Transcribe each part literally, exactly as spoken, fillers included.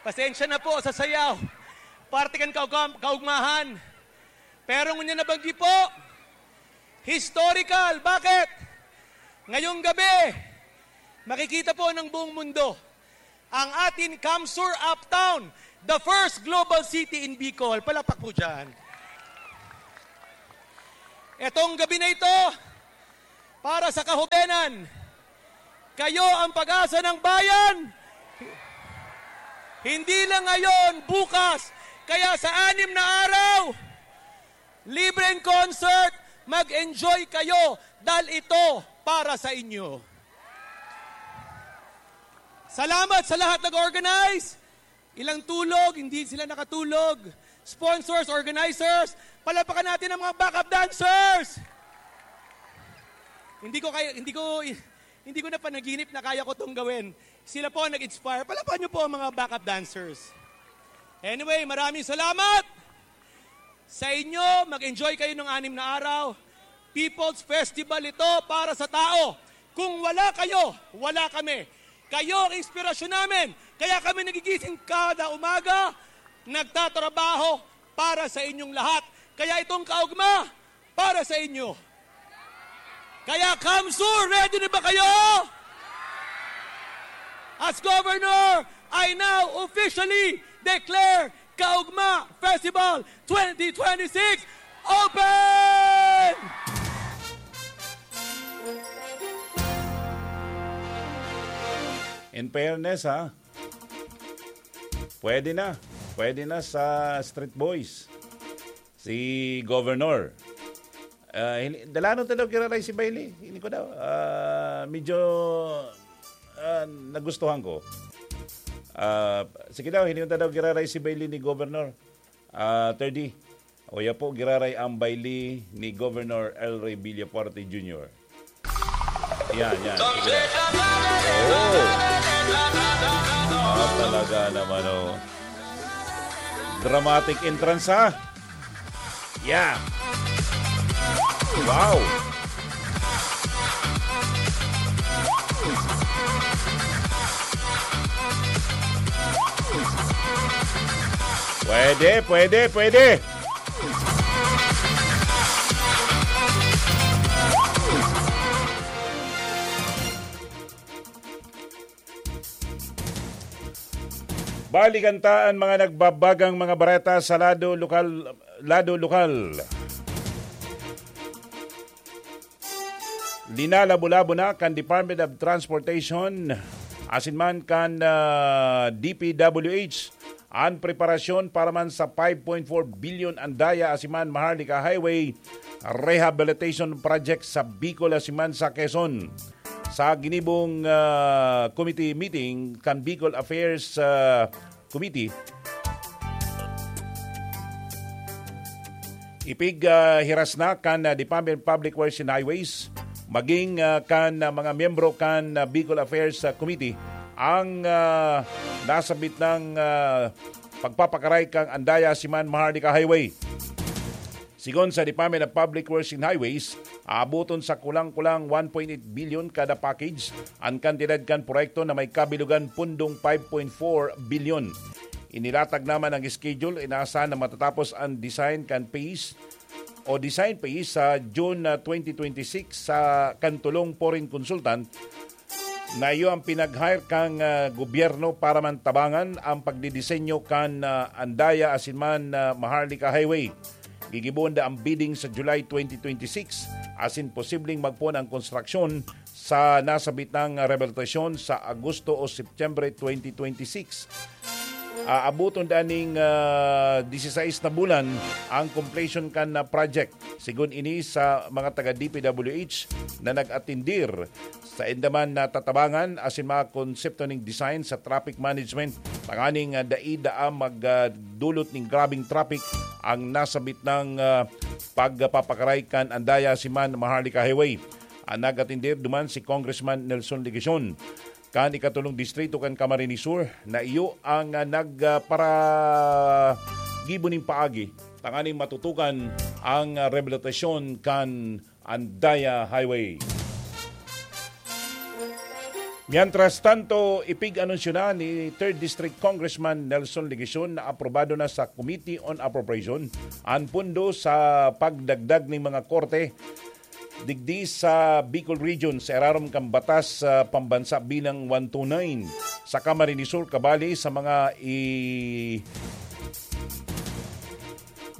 Pasensya na po sa sayaw. Parte kan kaugam-, kaugmahan. Pero ngunyan na banggi po, historical. Bakit? Ngayong gabi, makikita po ng buong mundo ang atin Kamsur Uptown, the first global city in Bicol. Palakpak po dyan. Etong gabi na ito, para sa kahubenan, kayo ang pag-asa ng bayan. Hindi lang ngayon, bukas. Kaya sa anim na araw, libreng concert, mag-enjoy kayo dahil ito para sa inyo. Salamat sa lahat nag-organize. Ilang tulog, hindi sila nakatulog. Sponsors, organizers, palakpakan natin ang mga backup dancers. Hindi ko kaya, hindi ko, hindi ko na panaginip na kaya ko tong gawin. Sila po ang nag-inspire. Palakpakan niyo po ang mga backup dancers. Anyway, maraming salamat sa inyo. Mag-enjoy kayo ng anim na araw. People's Festival ito para sa tao. Kung wala kayo, wala kami. Kayo ang inspirasyon namin. Kaya kami nagigising kada umaga, nagtatrabaho para sa inyong lahat. Kaya itong kaugma, para sa inyo. Kaya, Kamsur, ready na ba kayo? As Governor, I now officially declare Kaugma Festival twenty twenty-six open! In fairness, ha, pwede na. Pwede na sa Street Boys si Governor. Ah, hini-, dalanon ta daw giraray si Bailey. Hindi ko daw. Ah, medyo, ah, nagustuhan ko. Ah, sige daw, hilingon ta daw giraray si Bailey ni Governor. Ah, thirty. O ya po, giraray ang Bailey ni Governor El Rey Villafuerte Junior. Yan, yan. Sige daw. Oh. Ah, talaga naman, oh. Dramatic entrance, ha? Yeah. Wow. Pwede, pwede, pwede. Balikan ta an mga nagbabagang mga bareta sa lado lokal, lado lokal. Linalabo-labo na kan Department of Transportation asin man kan, ah, D P W H an preparasyon para man sa five point four billion Andaya asin man Maharlika Highway Rehabilitation Project sa Bicol asin man sa Quezon. Sa ginibong, ah, committee meeting kan Bicol Affairs, ah, Committee, ipig, ah, hiras na kan, ah, Department of Public Works and Highways, maging, ah, kan, ah, mga miyembro kan, ah, Bicol Affairs, ah, Committee ang, ah, nasabit ng, ah, pagpapakaray kan Andaya Siman Maharlika Highway. Sigon sa Department of Public Works and Highways, aaboton sa kulang-kulang one point eight billion kada package an kantidad kan proyekto na may kabilugan pundong five point four billion. Inilatag naman ang schedule, inaasahan na matatapos ang design kan phase o design phase sa June, ah, twenty twenty-six sa kan tolong foreign consultant na iyo ang pinag-hire kan, ah, gobyerno para man tabangan ang pagdidisenyo kan, ah, Andaya asin man, ah, Maharlika Highway. Gigibohon da ang bidding sa July twenty twenty-six asin posibleng magpoon ang konstruksyon sa nasabit nang rehabilitasyon sa Agosto o Setyembre twenty twenty-six. Aaboton da ning, ah, disisais na bulan ang completion kan, ah, project. Sigon ini sa mga taga D P W H na nag-atindir, sainda man natatabangan asin mga konsepto ning design sa traffic management tanganing, ah, dai daa magdulot ning grabeng traffic ang nasabit nang, ah, pagpapakaray kan Andaya Siman Maharlika Highway. Ang nag-atindir duman si Congressman Nelson Legacion kan ikatulong distrito kan Camarines Sur na iyo ang, ah, nag, ah, para gibo ning paagi tanganing matutukan ang, ah, rehabilitasyon kan Andaya Highway. Mientras tanto, ipig-anunsyo na ni Third District Congressman Nelson Legacion na aprobado na sa Committee on Appropriation an pondo sa pagdagdag ning mga korte digdi sa Bicol Region sa irarom kan batas sa pambansa bilang one two nine sa Camarines Sur, kabali sa mga i-,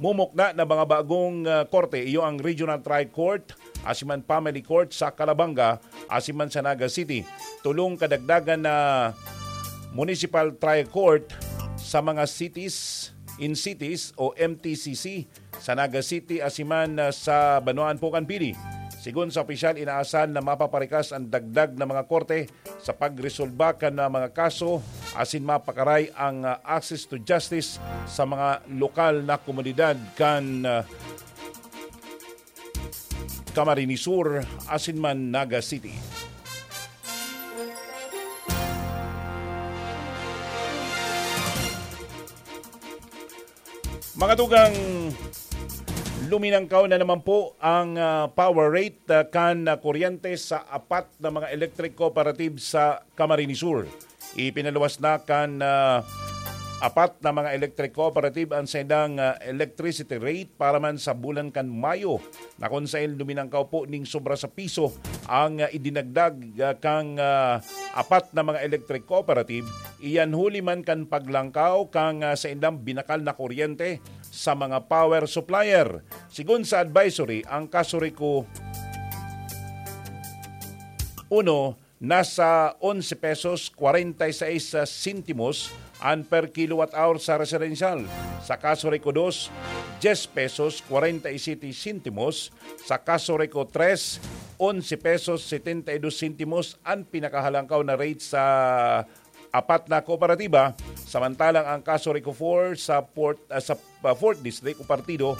mumukna na mga bagong, ah, korte, iyo ang Regional Trial Court, asin man Family Court sa Calabanga, asin man sa Naga City. Tolong kadagdagan na Municipal Trial Court sa mga cities, in cities o M T C C sa Naga City, asin man, ah, sa Banwaan po kan Pili. Sigon sa opisyal, inaasahan na mapaparikas ang dagdag na mga korte sa pagresolba kan, ah, mga kaso, asin mapakaray ang, ah, access to justice sa mga lokal na komunidad kan, ah, Camarines Sur asin man Naga City. Mga tugang, luminangkaw na naman po ang, ah, power rate, ah, kan, ah, kuryente sa apat na mga electric cooperative sa Camarines Sur. Ipinaluwas na kan, ah, apat na mga electric cooperative ang saindang, ah, electricity rate para man sa bulan kan Mayo, na kun saen luminangkaw po ning sobra sa piso ang, ah, idinagdag, ah, kang, ah, apat na mga electric cooperative. Iyan huli man kan paglangkaw kang, ah, saindang binakal na kuryente sa mga power supplier. Sigon sa advisory, ang Casureco uno nasa onse pesos kwarenta y seis sentimos an per kilowatt hour sa residential. Sa Casureco dos, dyes pesos kwarenta y siyete sentimos. Sa Casureco tres, onse pesos setenta y dos sentimos an pinakahalangkaw na rate sa apat na kooperatiba, samantalang ang Casureco four sa Port, ah, sa, ah, fourth District o partido,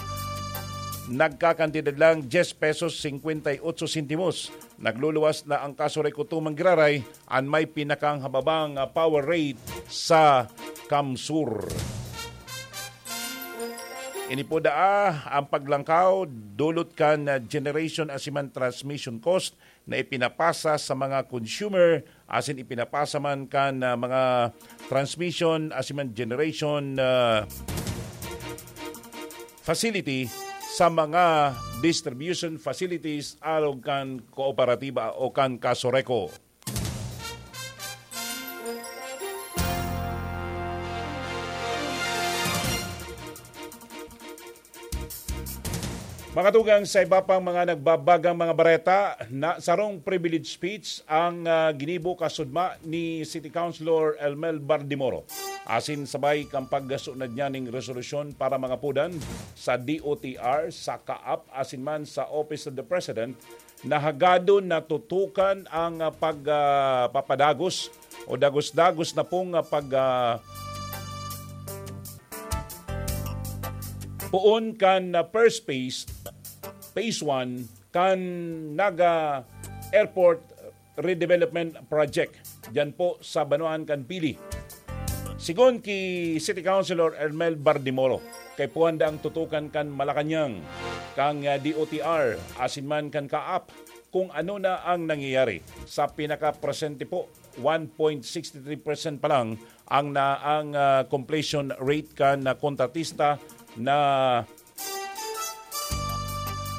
nagkakantidad lang dyes pesos singkwenta y otso sentimos. Nagluluwas na ang Casureco two Manggiraray, an may pinakanghababang, ah, power rate sa CamSur. Ini po daa ang paglangkaw dulot kan, ah, generation asin man transmission cost na ipinapasa sa mga consumer asin ipinapasa man kan, ah, mga transmission asin man generation, ah, facility sa mga distribution facilities arog kan kooperatiba o kan Casureco. Mga tugang, sa iba pang mga nagbabagang mga bareta, na sarong privilege speech ang, ah, ginibo kasudma ni City Councilor Elmel Bardimoro. Asin sabay kan pagsunod niya ning resolusyon para mangapodan sa D O T R, sa CAAP, asin man sa Office of the President, na hagadon na tutukan ang, ah, pag, ah, papadagos o dagos-dagos na pong, ah, pag, ah, poon kan, ah, first phase, phase one, kan Naga Airport Redevelopment Project, diyan po sa Banwaan kan Pili. Sigon ki City Councilor Ermel Bardimoro, kaipuhan daang tutukan kan Malacañang, kang, ah, D O T R, asin man kan CAAP, kung ano na ang nangyayari. Sa pinakapresente po, one point six three percent pa lang ang na, ang, ah, completion rate kan, ah, kontratista na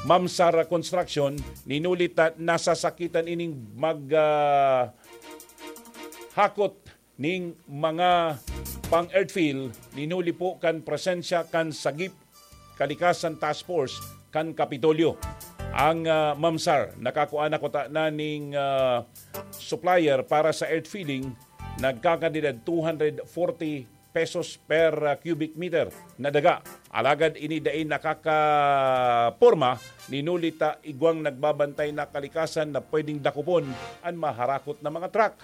Mamsar Construction, nin huli ta nasasakitan ining mag, ah, hakot ning mga pang-earthfill, nin huli po kan presensya kan sagip kalikasan task force kan Kapitolyo. Ang, ah, Mamsar, nakakua na kuta na ning, ah, supplier para sa earthfilling, nagkakantidad two hundred forty pesos per, ah, cubic meter na daga. Alagad ini dai nakakaporma, nin huli ta igwang nagbabantay na kalikasan na pwedeng dakopon an maharakot na mga truck.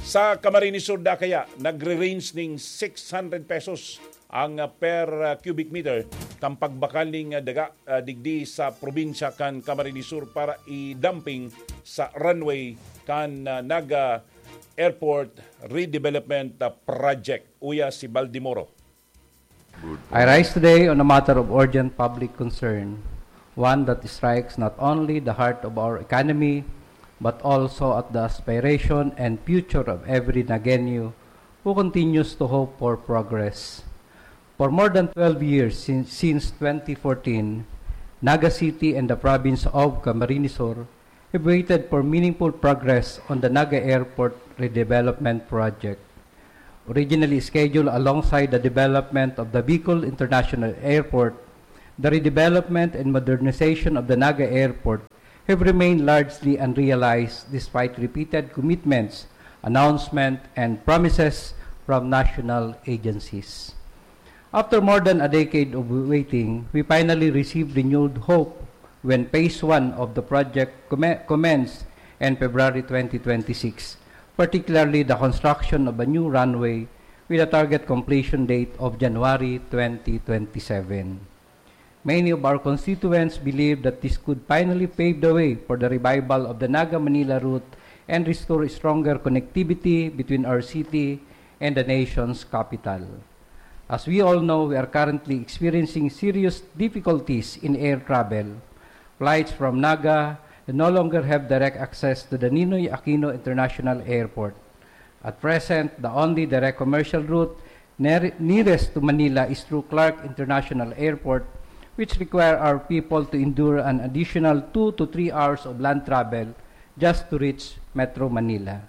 Sa Camarines Sur da kaya, nagre-range ning six hundred pesos ang, ah, per, ah, cubic meter kan pagbakal ning, ah, daga, ah, digdi sa probinsya kan Camarines Sur para i-dumping sa runway kan, ah, Naga Airport Redevelopment, ah, Project. Uya si Baldimoro. I rise today on a matter of urgent public concern one that strikes not only the heart of our economy, but also at the aspiration and future of every Nagueño who continues to hope for progress. For more than twelve years, sin- since twenty fourteen, Naga City and the province of Camarines Sur have waited for meaningful progress on the Naga Airport Redevelopment Project. Originally scheduled alongside the development of the Bicol International Airport, the redevelopment and modernization of the Naga Airport have remained largely unrealized despite repeated commitments, announcement, and promises from national agencies. After more than a decade of waiting, we finally received renewed hope when phase one of the project commen- commenced in February twenty twenty-six, particularly the construction of a new runway with a target completion date of January twenty twenty-seven. Many of our constituents believe that this could finally pave the way for the revival of the Naga-Manila route and restore stronger connectivity between our city and the nation's capital. As we all know, we are currently experiencing serious difficulties in air travel. Flights from Naga no longer have direct access to the Ninoy Aquino International Airport. At present, the only direct commercial route near- nearest to Manila is through Clark International Airport, which require our people to endure an additional two to three hours of land travel just to reach Metro Manila.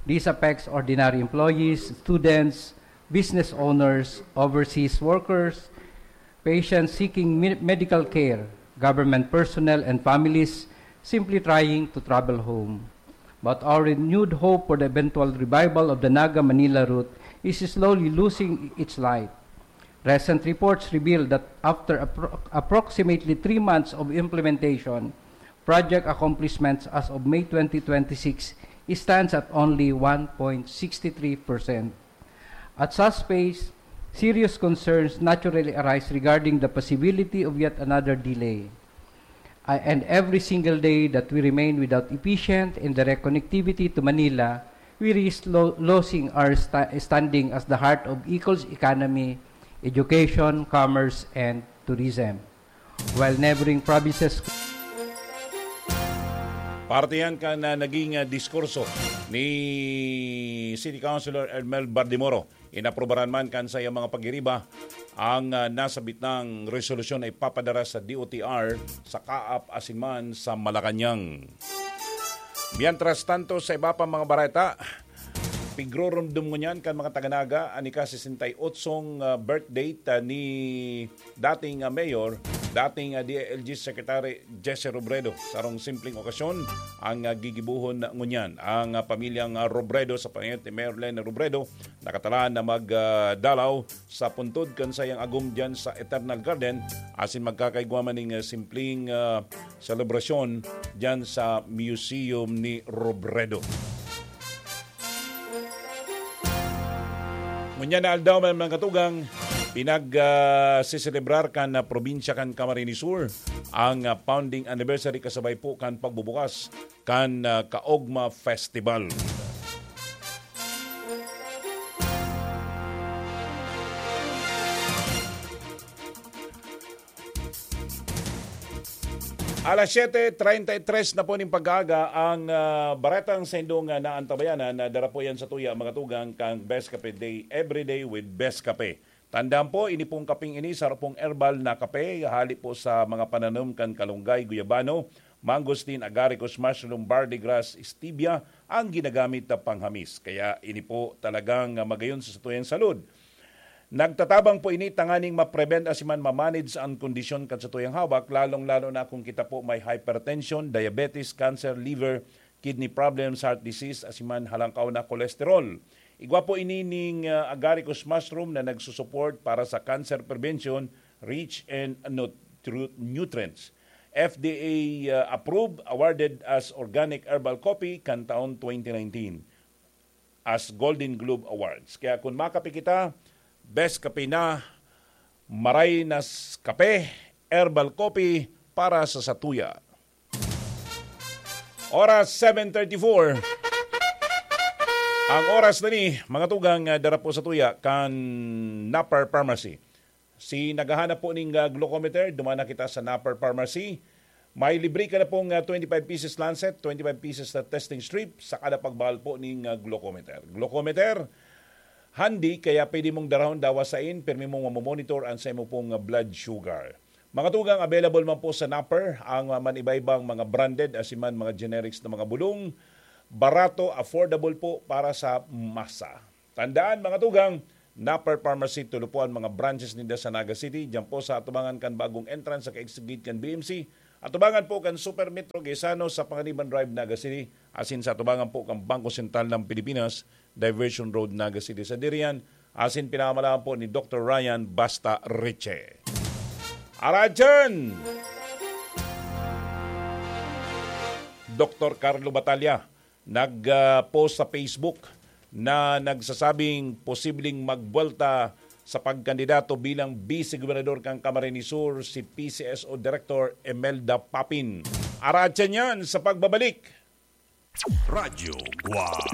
This affects ordinary employees, students, business owners, overseas workers, patients seeking me- medical care, government personnel, and families simply trying to travel home. But our renewed hope for the eventual revival of the Naga-Manila route is slowly losing its light. Recent reports reveal that after appro- approximately three months of implementation, project accomplishments as of May twenty twenty-six stands at only one point six three percent. At such pace, serious concerns naturally arise regarding the possibility of yet another delay. Uh, and every single day that we remain without efficient and direct connectivity to Manila, we risk lo- losing our sta- standing as the heart of Bicol's economy, education, commerce, and tourism. While neighboring provinces Parte yan kan, ah, naging, ah, diskurso ni City Councilor Ermel Bardemoro. Inaprubaran man kan saiyang mga pagiriba ang, ah, nasabitang resolusyon na ipapadara sa D O T R, sa kaap asin man sa Malacañang. Mientras tanto, sa iba pang mga bareta, pigroromdom ngunyan kan mga taga-Naga an ika-sesenta y otsong, ah, birthday ta ni dating, ah, mayor, dating, ah, D I L G Secretary Jesse Robredo. Sarong simpleng okasyon ang, ah, gigibohon ngunyan. Ang, ah, pamilyang, ah, Robredo sa panayot ni Mayor Leni Robredo nakatalaan na mag, ah, dalaw sa puntod kan saiyang agom diyan sa Eternal Garden asin magkakaigwa man ning, ah, simpleng, ah, selebrasyon diyan sa Museum ni Robredo. Ngunyan na aldaw, mga katugang, pinag, ah, seselebrar kan, ah, probinsya kan Camarines Sur ang, ah, founding anniversary kasabay po kan pagbubukas kan, ah, Kaogma Festival. Alas siyete treinta y tres na po ning pag-aaga, ang, ah, baretang sa indong, ah, naantabayanan na dara po yan sa tuya, mga tugang, kang Best Kape Day, Everyday with Best Kape. Tandaan po, ini pong kaping ini, saro pong herbal na kape, hali po sa mga pananom kan kalunggay, guyabano, mangosteen, agaricus mushroom, barley grass, stevia, ang ginagamit na panghamis. Kaya ini po talagang, ah, magayon sa satuyang salud. Nagtatabang po ini tanganing ma-prevent asin man ma-manage ang kondisyon kan satuyang hawak, lalong-lalo na kung kita po may hypertension, diabetes, cancer, liver, kidney problems, heart disease, asin man halangkaw na cholesterol. Igwa po ini ning, ah, agaricus mushroom na nagsusupport para sa cancer prevention, rich in nutru- nutrients. F D A, ah, approved, awarded as organic herbal coffee kan taon twenty nineteen as Golden Globe Awards. Kaya kung makape kita, best kape na, maray na s- kape, herbal coffee para sa satuya. Oras seven thirty-four. Ang oras na ni, mga tugang, ah, dara po sa tuya kan Napar Pharmacy. Si naghahanap po ning, ah, glucometer, duman na kita sa Napper Pharmacy. May libre ka na pong, ah, twenty-five pieces lancet, twenty-five pieces na testing strip, sa kada pagbahal po ning, ah, glucometer. Glucometer, handy, kaya pwede mong darahon dawa sain, pirmi mong mamomonitor ang sa imo pong, ah, blood sugar. Mga tugang, available man po sa Napper ang, ah, man-iba-ibang mga branded, asin man mga generics na mga bulong. Barato, affordable po para sa masa. Tandaan, mga tugang, Napper Pharmacy, tulo po ang mga branches ninda sa Naga City. Diyan po sa atubangan kan bagong entrance sa kaigsigit kan B M C. Atubangan po kan Super Metro Gaisano sa Panganiban Drive, Naga City. Asin sa atubangan po kan Bangko Sentral ng Pilipinas, Diversion Road, Naga City. Sa diriyan, asin pinamamalaan po ni Doktor Ryan Basta Riche. Aradyan! Doktor Carlo Batalla, nag-post sa Facebook na nagsasabing posibleng magbuwelta sa pagkandidato bilang Vice Gobernador kan Camarines Sur si P C S O Director Imelda Papin. Aratyan yan sa pagbabalik. Radyo Guwang.